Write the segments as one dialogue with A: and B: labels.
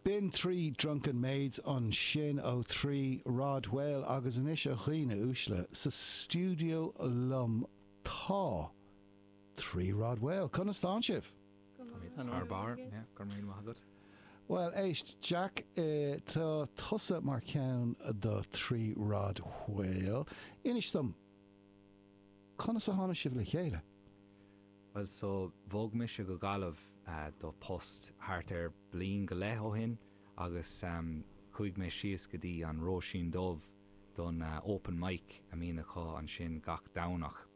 A: B'in Three Drunken Maids ansin ó Three Rod Whale agus anois a dhaoine uaisle, sa stiúideo liom tá Three Rod Whale. Conas tánn sibh?
B: Thar barr, yeah, go raibh míle maith agat.
A: Bhuel, éist, Jack, tá tusa mar cheann do Three Rod Whale. Inis dom, conas a tháinig sibh le chéile?
B: Bhuel, so, bhog mise go Gaillimh do post thart ar bliain go leith ó shin agus chuaigh mé síos go dtí an Róisín Dubh don open mic a mbíonn acu ansin gach Domhnach.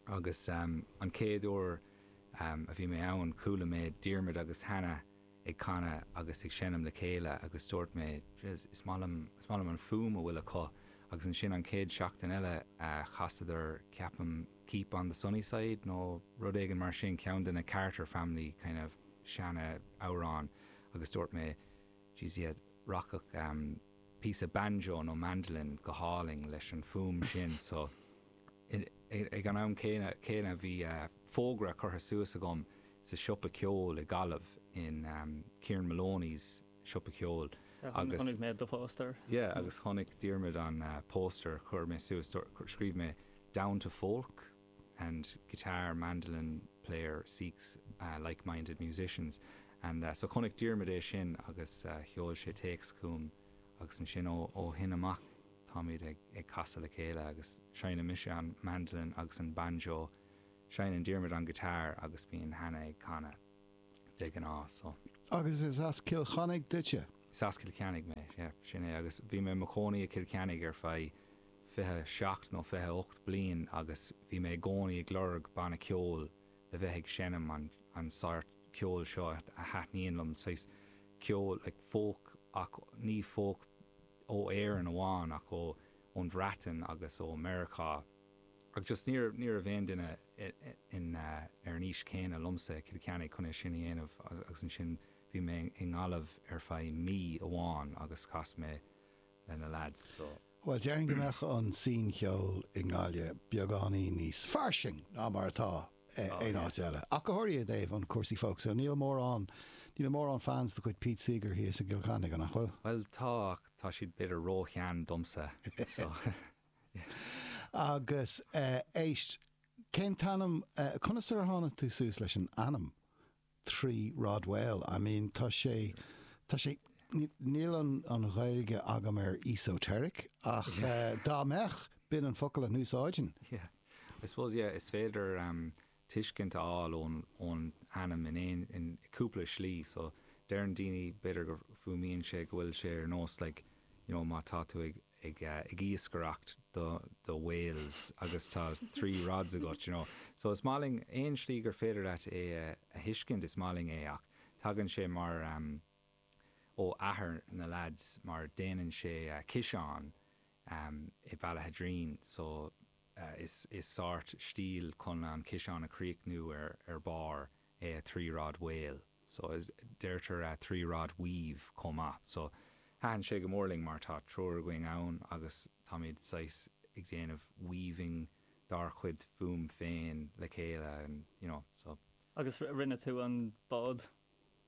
B: Agus an chéad uair a bhí mé ann, chuala mé Diarmuid agus Hannah ag canadh agus ag seinm le chéile agus dúirt mé, jeez, is maith liom, is maith liom an fuaim a bhfuil acu. Agus ansin an chéad seachtain eile chasadar, ceapaim, Keep on the Sunny Side nó rud éigin mar sin, ceann de na Carter Family kind of seana amhráin agus dúirt mé, jeez yeah, rachadh píosa banjo nó mandolin go hálainn leis an fuaim sin so ag an am céanna bhí fógra curtha suas agam sa siopa ceoil i Gaillimh in Kieran Moloney's siopa ceoil
C: agus Chonaic mé do phóstaer.
B: Yeah agus chonaic Diarmuid an póstaer chuir mé suas scríobh mé down to folk and guitar mandolin player seeks like minded musicians and so chonaic Diarmuid é sin agus sheol sé téacs chugam agus ansin ó shin amach táimid ag casadh le chéile agus seinneann mise an mandolin agus an banjo seinneann Diarmuid an guitar agus bíonn Hannah ag canadh. de ghnáth, so.
A: Agus is as Cill Chainnigh duitse?
B: Is as Cill Chainnigh mé, yeah, sin é. Agus bhí mé i mo chónaí i Cill Chainnigh ar feadh 27 nó 28 bliain agus bhí mé i gcónaí ag lorg banna ceoil le bheith ag seinm an an sórt ceoil seo a thaitníonn liom, saghas ceol like folk ach ní folk ó Éirinn amháin ach ó ón Bhreatain agus ó Meiriceá. Ach just ní raibh, ní raibh aon duine in, ar an aois céanna liomsa i Cill Chainnigh chun é sin a dhéanamh agus ansin bhí mé i nGaillimh ar feadh mí amháin agus chas mé le na lads so.
A: Bhuel, déarfainn go mbeadh an scene cheoil i nGaillimh beagáinín níos fairsing ná mar atá aon áit eile. Ach go háirithe i dtaobh an cúrsaí folk so níl mórán, níl mórán fans de chuid Pete Seeger thíos i gCill Chainnigh, an nach bhfuil?
B: Bhuel tá ach tá siad b'fhéidir ró-shean domsa so.
A: Agus éist, cén t-ainm, conas ar tháinig tú suas leis an ainm Three Rod Whale? I mean, tá sé, tá sé, níl an an Ghaeilge agam ar esoteric ach dá mbeadh, b'in an focal a n-úsáidfinn.
B: Yeah, I suppose, yeah, is féidir tuiscint a fháil ón ón ainm in aon, in cúpla slí so deireann daoine b'fhéidir go fuaimíonn sé go bhfuil sé ar nós like you know má tá tú ag ag ag iascaireacht do do whales agus tá three rods agat you know so is maith linn aon slí gur féidir leat é a a thuiscint is maith linn é ach tagann sé mar um ó athair na lads mar déanann sé ciseáin um i Ballaghaderreen so Is sórt stíl chun an ciseán a chríochnú ar ar barr é a three rod whale. So is deirtear a three rod weave chomh maith. So thaitin sé go mór linn mar tá triúr againn ann agus táimid saghas ag déanamh weaving dár chuid fuaim féin le chéile and you know so.
C: Agus rinne tú an bád?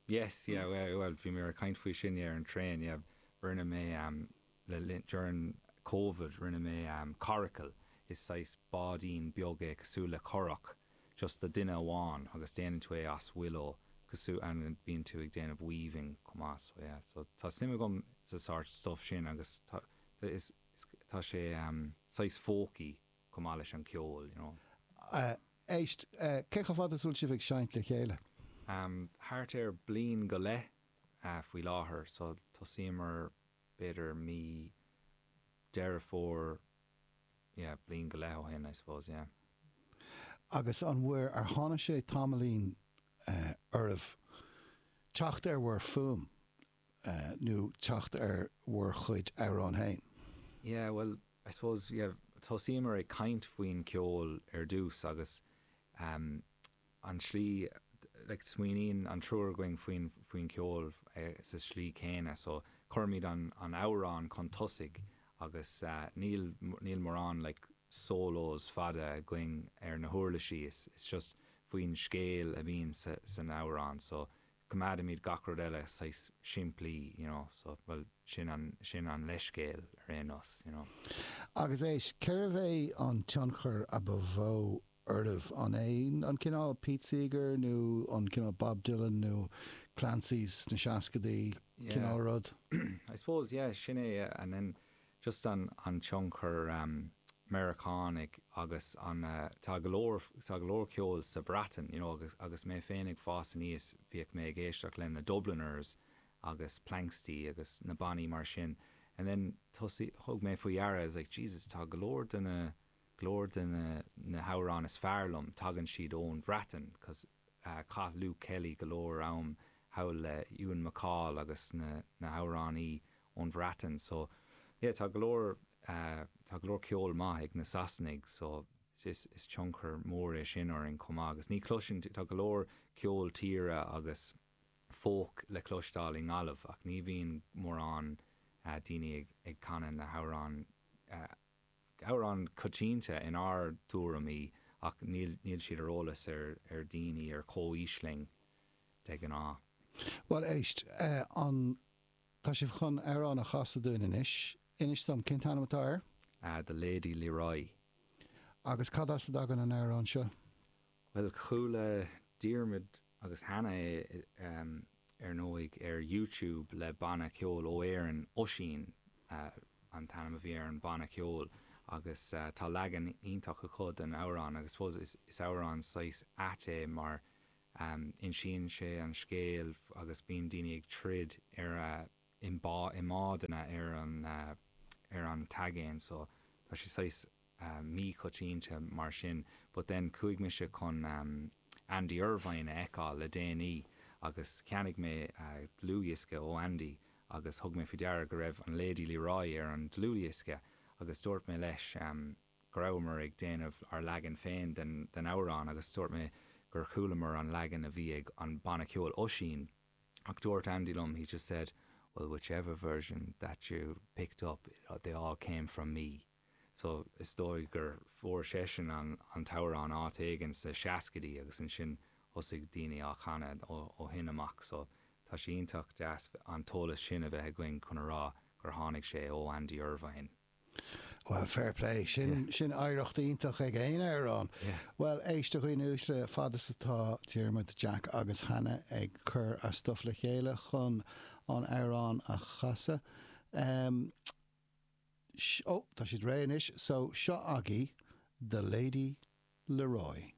B: Yes, yeah, well bhí mé ag caint faoi sin yeah ar an traein yeah rinne mé Le linn, during Covid, rinne mé coracle, is saghas báidín beag é cosúil le curach, just do duine amháin agus déanann tú é as willow cosúil and bíonn tú ag déanamh weaving chomh maith so yeah so tá suim agam sa sórt stuff sin agus tá is tá sé saghas folky chomh maith leis an ceol you know.
A: Éist, cé chomh fada is a bhfuil sibh ag seinnt le chéile?
B: Thart ar bliain go leith faoi láthair so tosaíomar b'fhéidir mí Deireadh Fómhair, yeah, bliain go leith ó shin, I suppose, yeah.
A: Agus an bhfuair, ar tháinig sé tamaillín oraibh teacht ar bhur fuaim nó teacht ar bhur chuid amhrán féin?
B: Yeah, well, I suppose, yeah, thosaíomar ag caint faoin ceol ar dtús agus an tslí, like, smaoiníonn an triúr againn faoin, faoin cheol sa slí céanna so cuirimid an, an amhrán chun tosaigh agus níl, níl mórán like solos fada againn ar na huirlisí, it's, it's just faoin scéal a bhíonn sa, san amhrán so. coimeádaimid gach rud eile saghas simplí, you know, so, bhuel, sin an, sin an leithscéal ar aon nós, you know.
A: Agus éist, cérbh é an tionchar a ba mhó oraibh? An é an cineál Pete Seeger nó an cineál Bob Dylan nó Clancy's sna seascadaí cineál rud?
B: I suppose, yeah, sin é, and then just an, an tionchar Meiriceánaigh agus an, tá go leor, tá go leor ceoil sa Bhreatain, you know, agus, agus mé féin ag fás aníos bhíodh mé ag éisteacht le na Dubliners agus Planxty agus na bannaí mar sin and then thosaigh, thug mé faoi deara, I was like, Jesus, tá go leor de na, go leor de na, na hamhráin is fearr liom, tagann siad ón Bhreatain 'cause chaith Luke Kelly go leor am thall le Ewan MacColl agus na, na hamhránaí ón Bhreatain so yeah tá go leor tá go leor ceol maith ag na Sasanaigh so is is tionchar mór é sin orainn chomh maith agus ní chloiseann tú tá go leor ceol tíre agus folk le cloisteáil i nGaillimh ach ní bhíonn mórán daoine ag ag canadh na hamhráin amhráin coitianta inár dtuairimí ach níl níl siad ar eolas ar ar daoine ar comhaois linn de ghnáth.
A: Bhuel éist, an Tá sibh chun amhrán a chasadh dúinn anois. Inis dom, cén t-ainm atá air?
B: The Lady Leroy.
A: Agus cad as a dtagann an amhrán seo?
B: Bhuel, chuala Diarmuid agus Hannah é, ar ndóigh, ar YouTube le banna ceoil ó Éirinn, Oisín an t-ainm a bhí ar an bhanna ceoil, agus tá leagan iontach acu den amhrán agus I suppose is amhrán saghas ait é mar Insíonn sé an scéal agus bíonn daoine ag troid ar i mbádanna ar an ar an t-aigéan so tá sé saghas míchoitianta mar sin. But then chuaigh mise chun Andy Irvine a fheiceáil le déanaí agus cheannaigh mé dlúthdhiosca ó Andy agus thug mé faoi deara go raibh an Lady Leroy ar an dlúthdhiosca agus dúirt mé leis go rabhamar ag déanamh ár leagan féin den amhrán agus dúirt mé gur chualamar an leagan a bhí ag an banna ceoil Oisín ach dúirt Andy liom, he just said, well whichever version that you picked up, they all came from me. So is dóigh gur fuair seisean an t-amhrán áit éigin sna seascaidí agus ansin thosaigh daoine á chanadh ó shin amach so tá sé iontach deas an t-eolas sin a bheith againn chun a rá gur tháinig sé ó Andy Irvine.
A: Bhuel, fair play. Sin, sin oidhreacht iontach ag aon amhrán. Bhuel, éist a dhaoine uaisle, fad is atá Diarmuid, Jack agus Hannah ag cur a stuff le chéile chun an amhrán a chasadh. Um, ó, tá siad réidh anois, so seo agaibh The Lady Leroy.